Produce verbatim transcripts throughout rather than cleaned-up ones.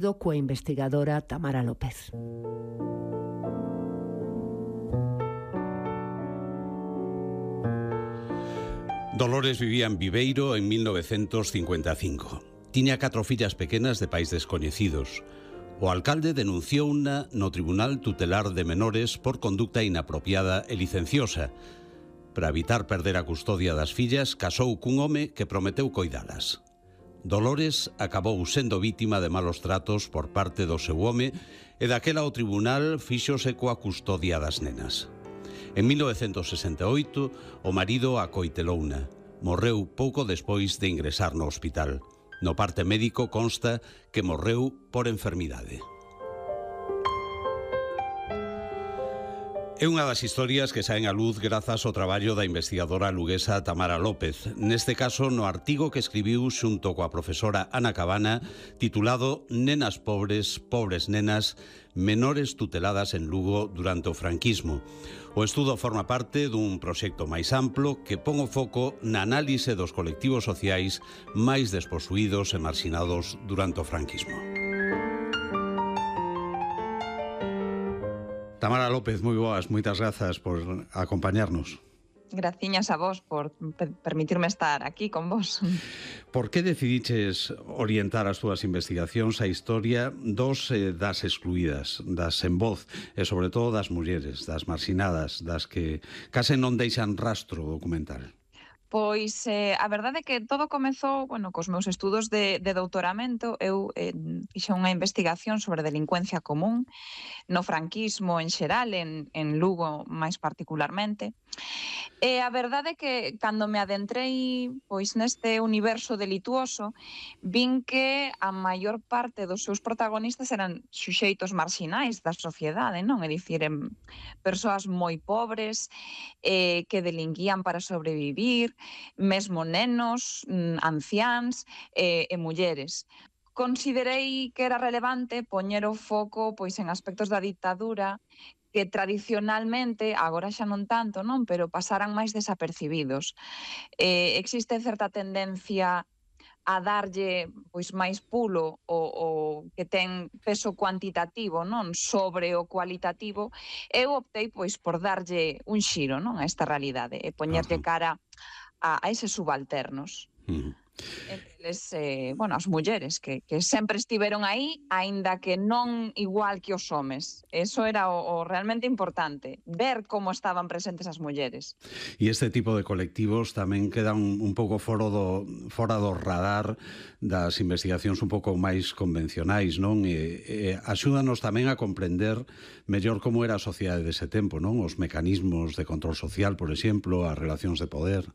coa investigadora Tamara López. Dolores vivía en Viveiro en mil novecientos cincuenta e cinco. Tiña catro fillas pequenas de pais descoñecidos. O alcalde denunciou unha no Tribunal Tutelar de Menores por conducta inapropiada e licenciosa. Para evitar perder a custodia das fillas, casou cun home que prometeu coidalas. Dolores acabou sendo vítima de malos tratos por parte do seu home e daquela o tribunal fíxose coa custodia das nenas. En mil novecientos sesenta e oito, o marido acoitelouna. Morreu pouco despois de ingresar no hospital. No parte médico consta que morreu por enfermidade. É unha das historias que saen á luz grazas ao traballo da investigadora luguesa Tamara López. Neste caso, no artigo que escribiu xunto coa profesora Ana Cabana, titulado Nenas pobres, pobres nenas, menores tuteladas en Lugo durante o franquismo. O estudo forma parte dun proxecto máis amplo que pon o foco na análise dos colectivos sociais máis desposuídos e marxinados durante o franquismo. Tamara López, moi boas, moitas grazas por acompañarnos. Graciñas a vos por permitirme estar aquí con vos. Por que decidiches orientar as túas investigacións a historia dos eh, das excluídas, das sen voz, e sobre todo das mulleres, das marxinadas, das que case non deixan rastro documental? Pois eh, a verdade é que todo comezou, bueno, cos meus estudos de, de doutoramento. Eu eh, fixe unha investigación sobre delincuencia común no franquismo en xeral, en, en Lugo máis particularmente. E a verdade é que cando me adentrei pois neste universo delituoso, vin que a maior parte dos seus protagonistas eran suxeitos marxinais da sociedade, non? É dicir, en persoas moi pobres, eh, que delinquían para sobrevivir, mesmo nenos, anciáns eh, e mulleres. Considerei que era relevante poñer o foco pois en aspectos da ditadura que tradicionalmente, agora xa non tanto, non, pero pasaran máis desapercibidos. Eh, existe certa tendencia a darlle pois máis pulo o, o que ten peso cuantitativo, non, sobre o cualitativo. Eu optei pois por darlle un xiro, non, a esta realidade e poñerlle cara a, a eses subalternos. Uh-huh. Entre eles, eh, bueno, as mulleres que, que sempre estiveron aí, aínda que non igual que os homes. Eso era o, o realmente importante, ver como estaban presentes as mulleres. E este tipo de colectivos tamén quedan un, un pouco fora do, fora do radar das investigacións un pouco máis convencionais, non? E, e axúdanos tamén a comprender mellor como era a sociedade dese tempo, non? Os mecanismos de control social, por exemplo, as relacións de poder.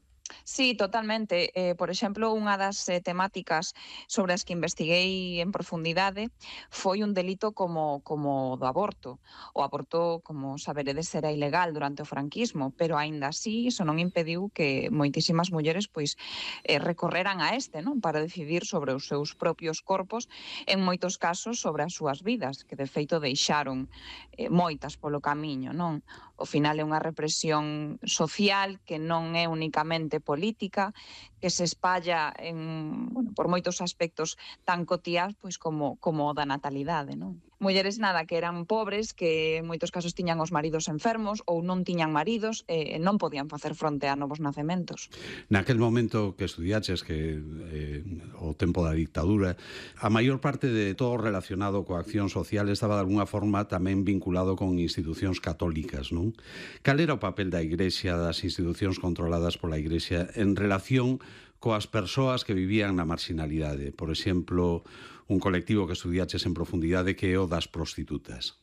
Sí, totalmente. Eh, por exemplo, unha das eh, temáticas sobre as que investiguei en profundidade foi un delito como, como do aborto. O aborto, como saberedes, era ilegal durante o franquismo, pero aínda así iso non impediu que moitísimas mulleres pois eh, recorreran a este, non, para decidir sobre os seus propios corpos, en moitos casos sobre as súas vidas, que de feito deixaron eh, moitas polo camiño, non? Ao final é unha represión social que non é únicamente política, que se espalla en, bueno, por moitos aspectos tan cotiás pois como, como o da natalidade, non? Mulleres nada, que eran pobres, que en moitos casos tiñan os maridos enfermos ou non tiñan maridos e non podían facer fronte a novos nacementos. Naquel momento que estudiaches, que eh, o tempo da dictadura, a maior parte de todo relacionado coa acción social estaba de alguna forma tamén vinculado con institucións católicas, non? Cal era o papel da Igrexa, das institucións controladas pola Igrexa en relación coas persoas que vivían na marxinalidade? Por exemplo, un colectivo que estudiaches en profundidade que é o das prostitutas.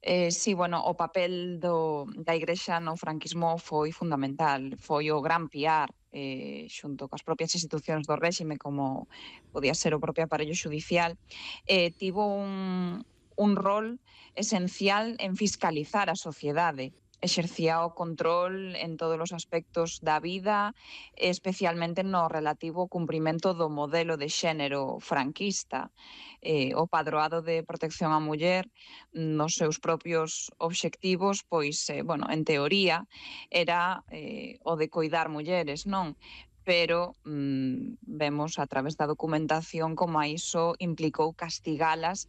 Eh, sí, bueno, o papel do, da Igrexa no franquismo foi fundamental, foi o gran piar eh, xunto coas propias institucións do réxime, como podía ser o propio aparello xudicial, eh, tivo un, un rol esencial en fiscalizar a sociedade. Exercía o control en todos os aspectos da vida, especialmente no relativo ao cumprimento do modelo de xénero franquista. Eh, o padroado de protección á muller nos seus propios obxectivos, pois, eh, bueno, en teoría, era eh, o de coidar mulleres, non? pero mm, vemos a través da documentación como a iso implicou castigalas